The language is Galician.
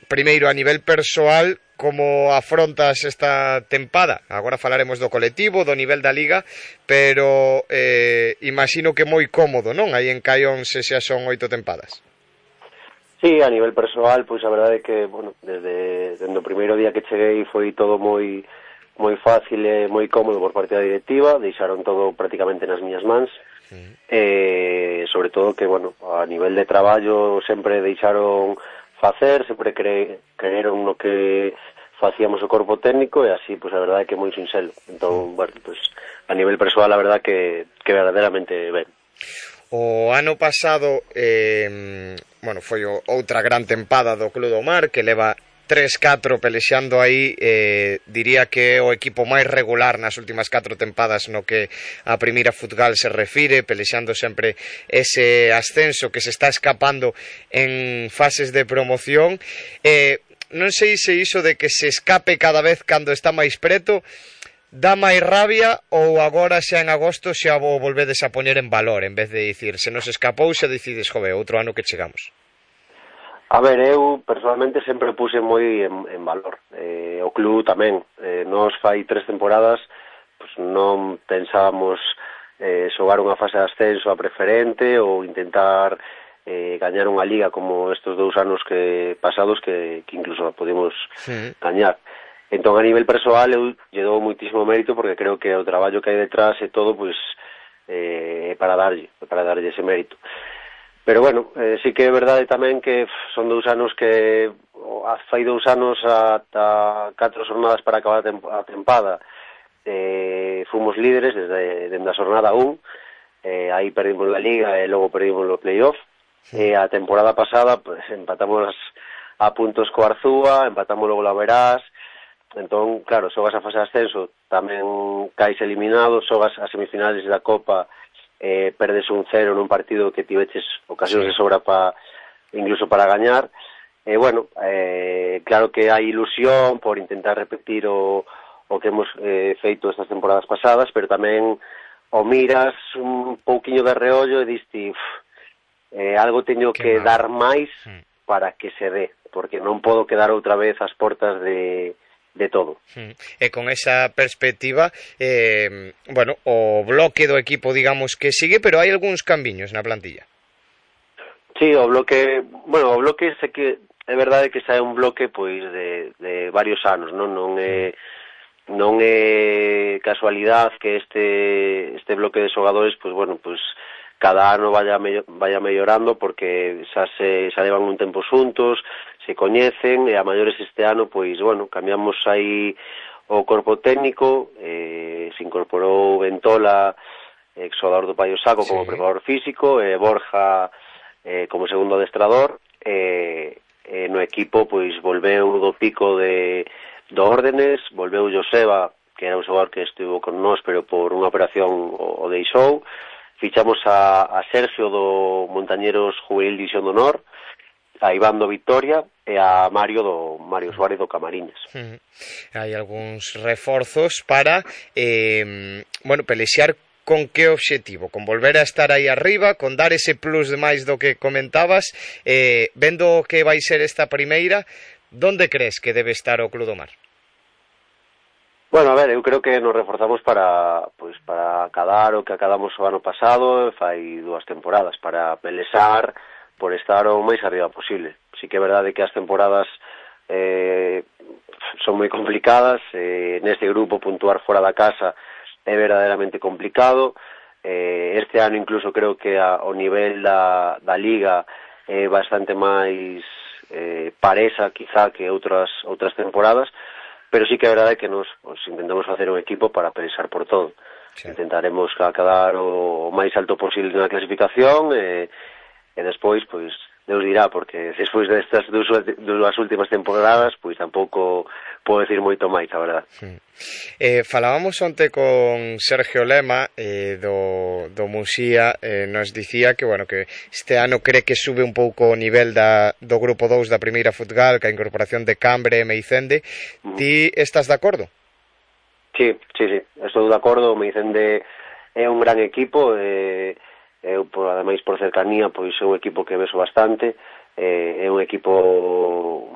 primeiro, a nivel persoal, como afrontas esta tempada? Agora falaremos do colectivo, do nivel da Liga, pero imagino que moi cómodo, non? Aí en Caión se xa son 8 tempadas. Sí, a nivel persoal, pois a verdade é que, bueno, desde o primeiro día que cheguei foi todo moi fácil e moi cómodo por parte da directiva, deixaron todo prácticamente nas miñas mans, sobre todo que, bueno, a nivel de traballo sempre deixaron facer, sempre creeron no que facíamos o corpo técnico e así, pois a verdade é que moi sinxelo. Entón, bueno, pois a nivel persoal a verdade que verdadeiramente ben. O ano pasado, bueno, foi outra gran tempada do Club do Mar, que leva 3-4 pelexando aí, diría que é o equipo máis regular nas últimas 4 tempadas no que a primeira Futgal se refire, pelexando sempre ese ascenso que se está escapando en fases de promoción. Non sei se iso de que se escape cada vez cando está máis preto dá máis rabia, ou agora xa en agosto xa vos volvedes a poñer en valor, en vez de dicir, se nos escapou xa decides, jove, outro ano que chegamos. A ver, eu personalmente sempre puse moi en valor. O club tamén. Nos fai 3 temporadas, pues non pensábamos xogar unha fase de ascenso a preferente ou intentar gañar unha liga como estes 2 anos pasados que incluso podemos gañar. Entón, a nivel persoal, eu lle dou moitísimo mérito porque creo que o traballo que hai detrás e todo, pues, para darlle ese mérito. Pero bueno, sí que é verdade tamén que son 2 anos que fai 2 anos ata 4 jornadas para acabar a tempada fomos líderes desde a jornada 1, aí perdimos a Liga e logo perdimos o playoff, e a temporada pasada pues, empatamos a puntos co Arzúa, empatamos logo la Verás. Entón, claro, xogas a fase de ascenso, tamén caes eliminado, xogas as semifinales da Copa, perdes un 0 nun partido que tiveches ocasións de sobra incluso para gañar. Bueno, claro que hai ilusión por intentar repetir o que hemos feito estas temporadas pasadas, pero tamén o miras un pouquiño de reollo e diste algo teño que dar máis para que se dé, porque non podo quedar outra vez ás portas de todo. E con esa perspectiva, bueno, o bloque do equipo, digamos que sigue, pero hai algúns cambiños na plantilla. Sí, o bloque sei que é verdade que xa é un bloque pois de varios anos, non é casualidade que este bloque de xogadores, pois bueno, pois cada ano vaya mellorando porque xa levan un tempo xuntos, se coñecen, e a maiores este ano, pois, bueno, cambiamos aí o corpo técnico, se incorporou Ventola, exjugador do Paio Saco, como preparador físico, e Borja como segundo adestrador, no equipo, pois, volveu do Pico do Órdenes, volveu Joseba, que era un xogador que estivo con nós, pero por unha operación o deixou, fichamos a Sergio do Montañeros Juvenil División de Honor, a Iván do Victoria e a Mario Suárez do Camariñas. Hai algúns reforzos para bueno, pelexar con que obxectivo? Con volver a estar aí arriba, con dar ese plus de máis do que comentabas, vendo que vai ser esta primeira, donde crees que debe estar o Club do Mar? Bueno, a ver, eu creo que nos reforzamos para acadar o que acadamos o ano pasado, fai 2 temporadas, para pelexar por estar o máis arriba posible. Sí que é verdade que as temporadas son moi complicadas, neste grupo puntuar fora da casa é verdadeiramente complicado. Este ano incluso creo que o nivel da Liga é bastante máis paresa quizá que outras temporadas, pero sí que é verdade que nos intentamos facer un equipo para pelexar por todo. Intentaremos acadar o máis alto posible na clasificación e despois, pois, Deus dirá, porque despois destas 2 últimas temporadas, pois tampouco podo decir moito máis, a verdade. Falábamos onte con Sergio Lema do Muxía, nos dicía que, bueno, que este ano cree que sube un pouco o nivel do grupo 2 da primeira Futgal, que a incorporación de Cambre e Meicende. Ti estás de acordo? Sí, estou de acordo. Meicende é un gran equipo, eu, ademais, por cercanía, pois é un equipo que beso bastante, é un equipo